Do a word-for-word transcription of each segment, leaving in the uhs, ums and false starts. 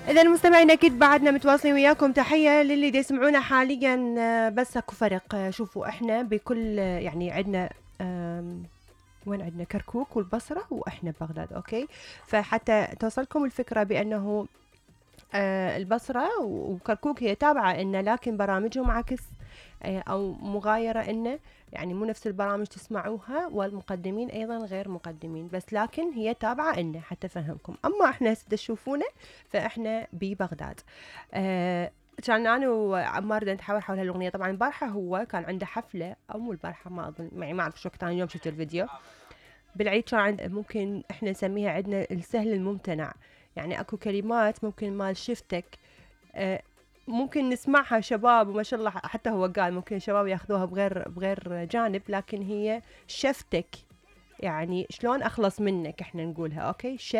إذا المستمعين أكيد بعدنا متواصلين وياكم. تحية للي دي يسمعونا حاليا. بس اكو فرق. شوفوا احنا بكل يعني عندنا وين عندنا كركوك والبصرة واحنا ببغداد. اوكي، فحتى توصلكم الفكرة بانه البصرة وكركوك هي تابعة إنه، لكن برامجهم عكس أو مغايرة إنه، يعني مو نفس البرامج تسمعوها، والمقدمين أيضا غير مقدمين، بس لكن هي تابعة إنه حتى فهمكم. أما إحنا تشوفونا فإحنا ببغداد. أه كان أنا وعمار بدنا نتحاور حول هالأغنية. طبعا البارحة هو كان عنده حفلة، أو مو البارحة، ما أظن، يعني ما أعرف شو وقت، أنا اليوم شفت الفيديو بالعيد. كان عند، ممكن إحنا نسميها عندنا السهل الممتنع، يعني اكو كلمات ممكن مال شفتك آه ممكن نسمعها شباب، وما شاء الله حتى هو قال ممكن شباب ياخذوها بغير بغير جانب، لكن هي شفتك، يعني شلون اخلص منك احنا نقولها. اوكي، ش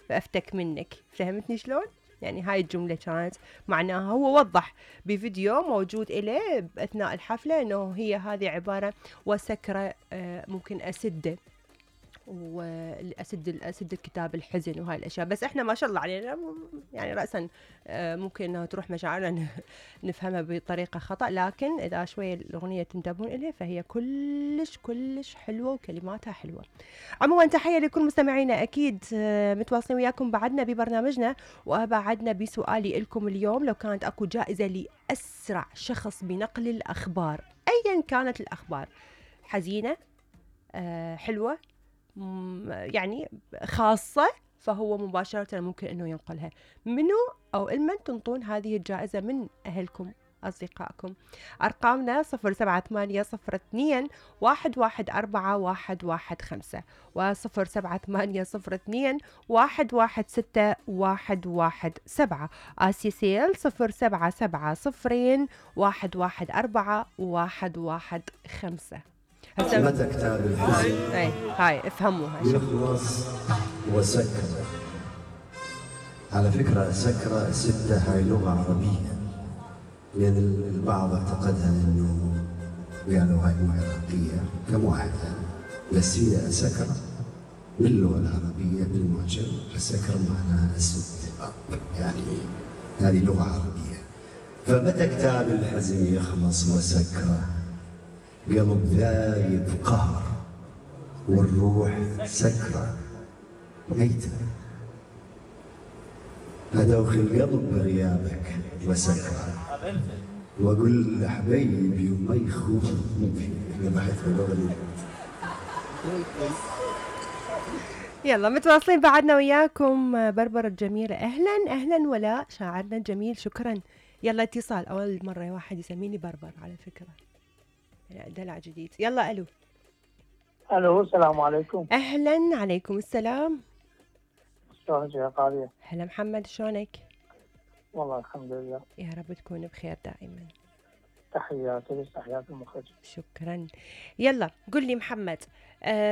فافتك منك، فهمتني شلون؟ يعني هاي الجملة كانت معناها، هو وضح بفيديو موجود إليه أثناء الحفلة أنه هي هذه عبارة وسكرة آه ممكن أسده، واسد اسد الكتاب الحزن وهاي الاشياء. بس احنا ما شاء الله علينا يعني راسا ممكن انها تروح مشاعرنا نفهمها بطريقه خطا، لكن اذا شويه الاغنيه تنتبهون اليها فهي كلش كلش حلوه وكلماتها حلوه. عموما تحيه لكل مستمعينا، اكيد متواصلين وياكم بعدنا ببرنامجنا. وبعدنا بسؤالي لكم اليوم، لو كانت اكو جائزه لاسرع شخص بنقل الاخبار، ايا كانت الاخبار، حزينه أه حلوه يعني خاصة، فهو مباشرة ممكن أنه ينقلها. منو أو المن تنطون هذه الجائزة من أهلكم أصدقائكم؟ أرقامنا صفر سبعة ثمانية صفر اثنين واحد واحد أربعة واحد واحد خمسة وصفر سبعة ثمانية صفر اثنين واحد واحد ستة واحد واحد سبعة. آسيسيل صفر سبعة سبعة صفرين واحد واحد أربعة واحد واحد خمسة. متى كتاب الحزن هاي هاي افهموها يخلص وسكرة. على فكرة سكرة ستة هاي لغة عربية، لأن البعض اعتقدها إنه قالوا هاي مو عراقية كمواحدة، بس هي سكرة باللغة العربية بالمعجم. السكرة معناها أسد، يعني هذه لغة عربية. فمتى كتاب الحزن يخلص وسكرة، قلب ذايب قهر والروح سكرة ميتة، أدوخ القلب بغيابك وسكرة، وأقول لحبيبي وما يخوني بحث الأغنية. يلا متواصلين بعدنا وياكم. بربر الجميلة، أهلا أهلا ولا شاعرنا الجميل، شكرا. يلا اتصال، أول مرة واحد يسميني بربر على فكرة، دلع جديد. يلا ألو. ألو السلام عليكم. أهلا عليكم السلام. شلونك يا قاضية؟ هلا محمد، شلونك؟ والله الحمد لله، يا رب تكون بخير دائما. تحياتي لك، تحيات المخرج. شكرا. يلا قل لي محمد، آه